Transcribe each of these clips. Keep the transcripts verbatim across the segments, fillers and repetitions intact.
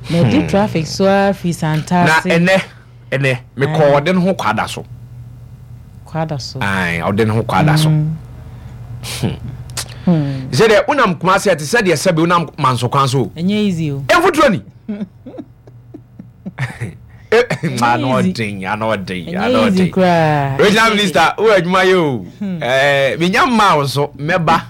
Na ɛdi traffic so ara firi Na Santase. ɛnɛ ɛnɛ mekɔ ɔde ne ho kwada so. Kwada so. Ae, ɔde ne ho kwada so sɛdeɛ wonam Kumase ɛte sɛdeɛ sɛbi wonam Manso kwan so o. Ɛnyɛ easy o. Ɛmfoturo ni ano Easy. ɔden, ano ɔden, Ɛnyɛ ano easy ɔden. Koraa. Regional minister, wo adwuma yɛ o. ɛɛ menya mmaa wo so mɛba.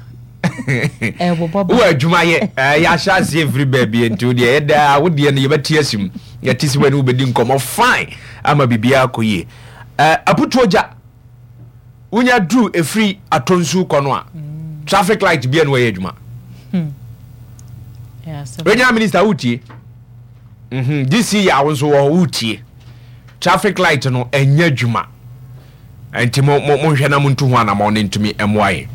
Ɛbobɔ ba. Wo adwuma yɛ ɛɛ yɛahyɛ aseɛ firi baabi, nti wo deɛ yɛda wo deɛ no yɛbɛte asi mu, yɛte si wɔ ne wobɛdi nkɔmmɔ fine ama biribiara kɔ yie. ɛɛ aputuo gya wonya duru ɛfiri Atonsu kɔ no a, traffic light bia no wɔyɛ adwuma. Ɛyɛ asɛm. Regional minister, wotie mhm D C yɛ awo nso wɔ hɔ, wotie, traffic light no ɛnyɛ adwuma, nti mo mo monhwɛ na montu ho anammɔn ne ntumi mmoa yɛn.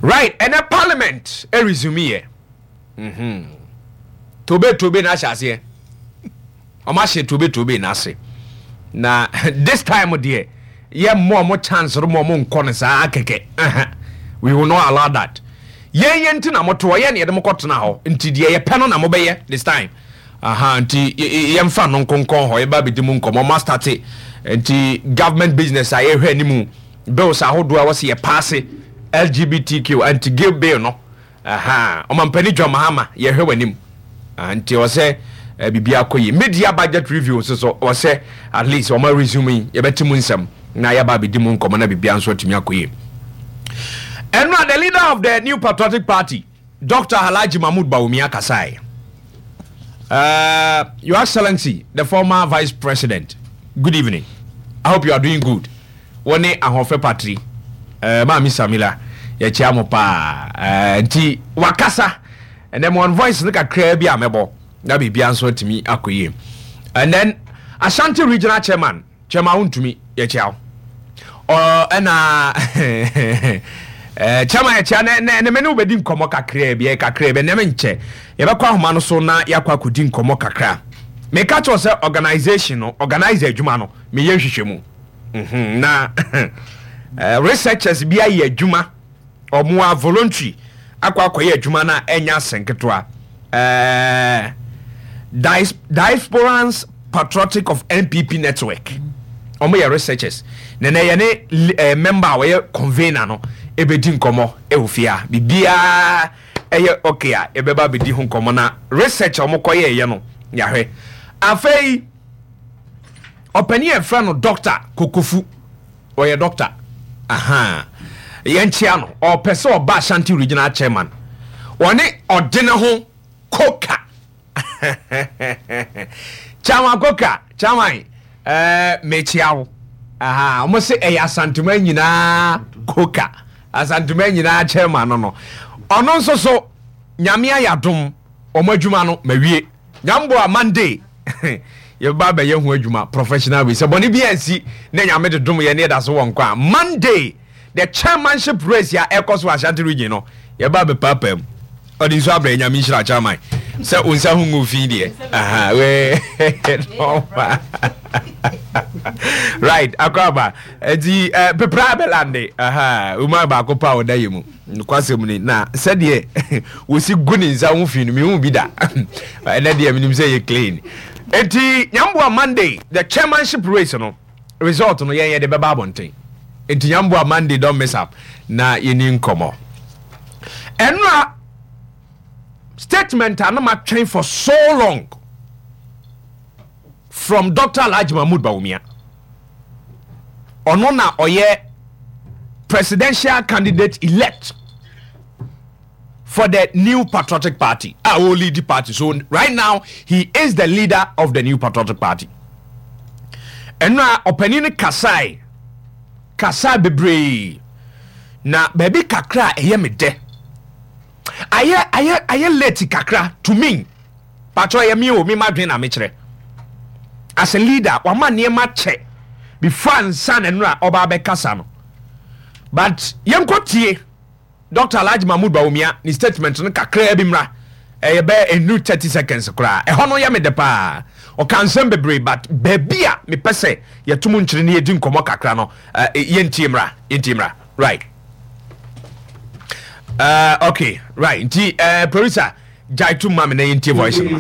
Right, ɛnɛ parliament ɛresume yɛ mhm tobe tobe na ahyɛ aseɛ, ɔmo ahyɛ tobe tobe na ase, na this time deɛ yɛ mmɔ ɔmo chance no mo ɔmo nkɔ no saa kɛkɛ. Ɛhɛ. We will not allow that. Yɛn yɛn ti na mo to hɔ, yɛn na yɛde mo kɔ tena hɔ, nti deɛ yɛpɛ no na mo bɛyɛ this time. Aha, nti yɛ- yɛ- yɛmfa no nkonkɔn hɔ, yɛba abɛdi mu nkɔmmɔ. Ɔmo astart, nti government business a yɛhwɛ anim, bills ahodoɔ a wɔsi yɛ pass, L G B T Q, anti-gay bill no. Aha, ɔmampanin John Mahama, yɛhwɛ w'anim. Ah, nti ɔsɛ eh, biribi akɔ yi, media budget review nso so ɔsɛ at least ɔma resume yi, yɛbɛte mu nsɛm na yɛba abɛdi mu nkɔmmɔ na biribia nso atumi akɔ yie. Ɛno a, the leader of the New Patriotic Party, Doctor Alhaji Mahmood Bawumia kasae. uh, your Excellency the former Vice President, good evening. I hope you are doing good. Wɔne ahoɔfɛ patri uh, Maame Samila, yɛkyia mo paa. uh, nti wakasa ɛnɛ mo on voice no kakraa bi a mɛbɔ na biribia nso atumi akɔ yie. And then Ashanti Regional Chairman, Chairman Wontumi, yɛkyia wo. Ɔ ɛna eh, chairman, yɛkyia ne ne ne me ne wobɛdi nkɔmmɔ kakraa bi, ɛyɛ kakraa bi. Ɛnɛ me nkyɛ yɛbɛkɔ ahoma no so na yɛakɔ akɔdi nkɔmmɔ kakra. Meka kyerɛw sɛ organisation no, organise adwuma no, meyɛ nhwehwɛ mu Mhm, na eh, researchers bi ayɛ adwuma, ɔmo a voluntary akɔ akɔyɛ adwuma no a ɛnyɛ asɛn ketewa. Eh, Dias- diasporans Patriotic of N P P Network, ɔmo yɛ researchers na na yɛne li- eh, member a wɔyɛ convener no ɛbɛdi nkɔmmɔ ɛwɔ fie a biribiaa ɛyɛ okay a yɛbɛba abɛdi ho nkɔmmɔ na research a ɔmo kɔyɛɛyɛ no yɛahwɛ. Afei ɔpanin a yɛfrɛ no Doctor Kokofu, ɔyɛ doctor, aha, yɛnkyea no. Ɔpɛ sɛ ɔba Ashanti Regional Chairman, ɔne ɔde ne ho Koka, Chairman Koka, chairman, ɛɛ mekyia wo. Aha, ɔmo sɛ ɛyɛ Asantuma nyinaa Koka, Asantuma nyinaa chairman no no ɔno nso so Nyame ayɛ adom, ɔmo adwuma no mawie. Nyambo a Monday yɛbɛba abɛyɛ ho adwuma professional way sɛ bɔne bi ansi na Nyame de dom yɛ ne yɛda so wɔ nkwa a, Monday the chairmanship race a ɛkɔ so wɔ Ashanti Region no, yɛba abɛpaapaa mu. Ɔde nso abrɛ. Nyame nhyira chairman sɛ wo nsa ho ngu fi deɛ. Aha, wee normal. Right, akɔ aba nti eh, pepra bɛlande. Aha, woma baako pa a ɔda yɛ mu nokwasɛm ni na sɛdeɛ wɔsi gu ne nsa ho fi no, mehu bi da. Ɛnɛ deɛ menim sɛ yɛ clean, nti Nyamboa, Monday the chairmanship race no result no yɛn yɛde bɛba abɔnten, nti Nyamboa, Monday don't miss up na yɛni nkɔmmɔ. Ɛno a statement a na matwɛn for so long from Doctor Alhaji Mahmood Bawumia, ɔno na ɔyɛ presidential candidate elect for the New Patriotic Party a ɔlead the party. So right now he is the leader of the New Patriotic Party. Ɛno a ɔpanin no kasae, kasae bebree na baabi kakra a ɛyɛ me dɛ, ayɛ ayɛ ayɛ late kakra to me. Patro, ɛyɛ me o, me ma dwen na mekyerɛ as a leader, wama nneɛma kyɛ before ansa na nnura ɔba abɛkasa no. But yɛnkɔ tie Doctor Alhaji Mahmood Bawumia ne statement no kakraa bi mmra. Ɛyɛ bɛyɛ enu thirty seconds koraa. Ɛhɔ no yɛ me de paa. Ɔka nsɛm bebree, but baabi a mepɛ sɛ yɛto mu nkyerɛ ne yɛdi nkɔmmɔ kakra no, uh, yɛntie mmra, yɛntie mmra. Right, uh, okay, right, nti uh, producer, gyae to ma me na yɛntie voice no.